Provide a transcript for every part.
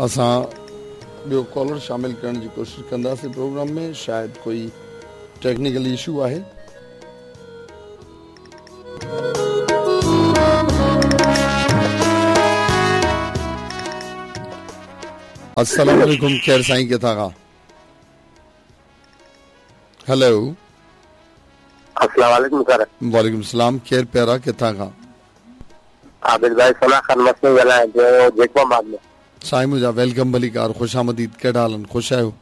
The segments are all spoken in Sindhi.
اسان ٻيو ڪالر شامل ڪرڻ جي ڪوشش ڪنداسين پروگرام ۾ شايد ڪوئي ٽيڪنيڪل اشو آهي. السلام عليڪم خير سائين ڪٿان کان هلو السلام عليڪم سر وعليڪم السلام ڪير پيارا ڪٿان کان عابد ڀائي ثنا خان مسني ڳالهايان پيو جيڪب آباد ۾. سائين منهنجا welcome ڀليڪار خوش آمديد ڪهڙا حال آهن خوش آهيو.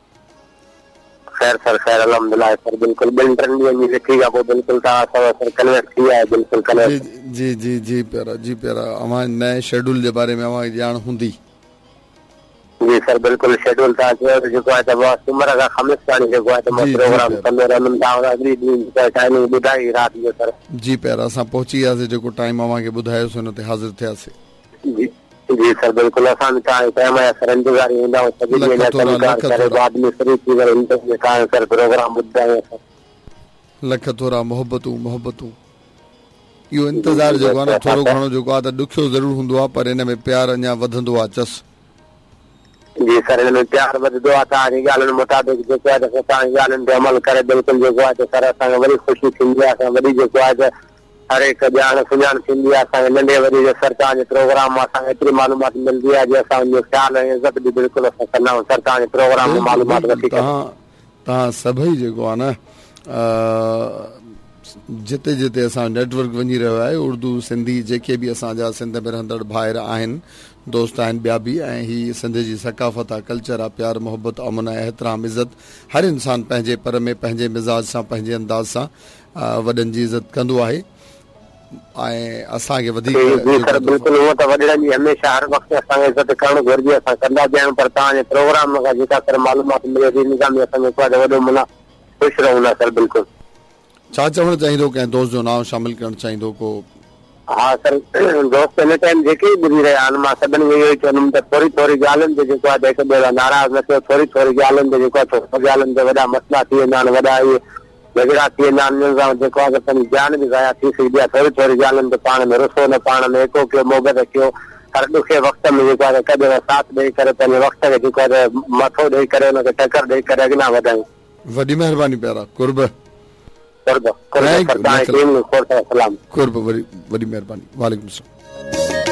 خير سر خير الحمدلله سر بلڪل ٻن ٽن ڏينهن جي لکي کان پوء بلڪل توهان سان سر ڪنويڪٽ ٿي آهي بلڪل ڪنويڪٽ. جي جي جي پيارا جي پيارا اوهان نئين شيڊول جي باري ۾ اوهان کي ڄاڻ هوندي. جي سر بلڪل شيڊول توهان چيو ته جيڪو آهي ته مان سومر کان خميس تاڻي جيڪو آهي ته مان پروگرام ڪندو رهندم توهان اڳلي ڏينهن جيڪو آهي ٽائمنگ ٻڌائي رات جو سر. جي پيارا اسان پهچي وياسي جيڪو ٽائيم اوهان کي ٻڌايوسي ان تي حاضر ٿياسي. جي جي سر بلڪل اسان به توهان جي ٽائيم جا سر انتظاري هوندا آهيون سڄي ڏينهن جا لک ٿورا ڪم ڪار لک ڪري ٿورا. بعد ۾ فري ٿي ڪري هن ٽائيم تي توهان جو سر پروگرام ٻڌندا آهيون اسان. لک ٿورا محبتون محبتون. اهو جي انتظار جي جيڪو آهي بس نه اسان ٿورو ته گهڻو جيڪو آهي ته ڏکيو ضرور هوندو آهي پر ان ۾ پيار اڃا وڌندو آهي چس. جي سر ان ۾ پيار وڌندو آهي توهان جي ڳالهين مطابق جيڪو آهي ته اسان توهان جي ڳالهين تي عمل ڪري بلڪل جيڪو آهي ته سر اسان کي وڏي خوشي ٿيندي آهي اسان وڏي جيڪو آهي ته هر هڪ ڄاڻ سڃاڻ ٿيندي آهي اسان کي ننڍي وڏي جو سر توهان جي پروگرام مان اسان کي ايتري معلومات ملندي آهي جو اسان ان جو خيال ۽ عزت به بلڪل اسان ڪندا آهيون سر توهان جي پروگرام مان بلڪل معلومات بلڪل وٺي ڪري. توهان توهان سڀئي جيڪو آهي نه جتي جتي اسان جو نيٽ ورڪ وڃي رهيو آهي اردو سنڌي جيڪي به اسان جا سنڌ ۾ رهندڙ ڀائر آهن دوست آهن ٻيا به ۽ هي سنڌ جي ثقافت آ ڪلچر آ پيار محبت امن ۽ احترام عزت هر انسان پنهنجي پر ۾ پنهنجي مزاج سان پنهنجي انداز سان وڏن جي عزت ڪندو آهي ۽ اسان کي وڌيڪ جي جيڪو سر بلڪل هونء ته وڏڙن جي هميشه هر وقت اسان کي عزت ڪرڻ گهرجي اسان ڪندا به آهيون پر توهان جي پروگرام کان جيڪا سر معلومات ملي ٿي ان سان به اسان جيڪو آهي ته وڏو معنيٰ خوش رهون ٿا سر بلڪل. ڇا چوڻ چاهيندو ڪنهن دوست جو نانء شامل ڪرڻ چاهيندو ڪو. ها سر دوست هن ٽائيم جيڪي به ٻڌي رهيا آهن مان سڀني کي اهو ئي چوندم ته ٿوري ٿوري ڳالهين تي جيڪو آهي ته هڪ ٻئي سان ناراض نه ٿيو ٿوري ٿوري ڳالهين تي جيڪو آهي ٿوري ڳالهين تي وڏا مسئلا ٿي ويندا آهن وڏا اهي جهڳڙا ٿي ويندا آهن انهن سان جيڪو آهي ته پنهنجي جان به ضايع ٿي سگهندي آهي ٿوري ٿوري ڳالهين تي پاڻ ۾ رسو نه پاڻ ۾ ايڪو ڪيو محبت ڪيو هر ڏکي وقت ۾ جيڪو آهي ته هڪ ٻئي سان ساٿ ڏئي ڪري پنهنجي وقت کي جيڪو آهي ته مٿو ڏئي ڪري ان کي ٽڪر ڏئي ڪري اڳيان وڌايون. وڏي مهرباني پيارا قرب. قرب قرب thank you sir توهان لک جي ٽيم کي کوڙ سارا سلام. قرب وڏي وڏي مهرباني وعليڪم السلام.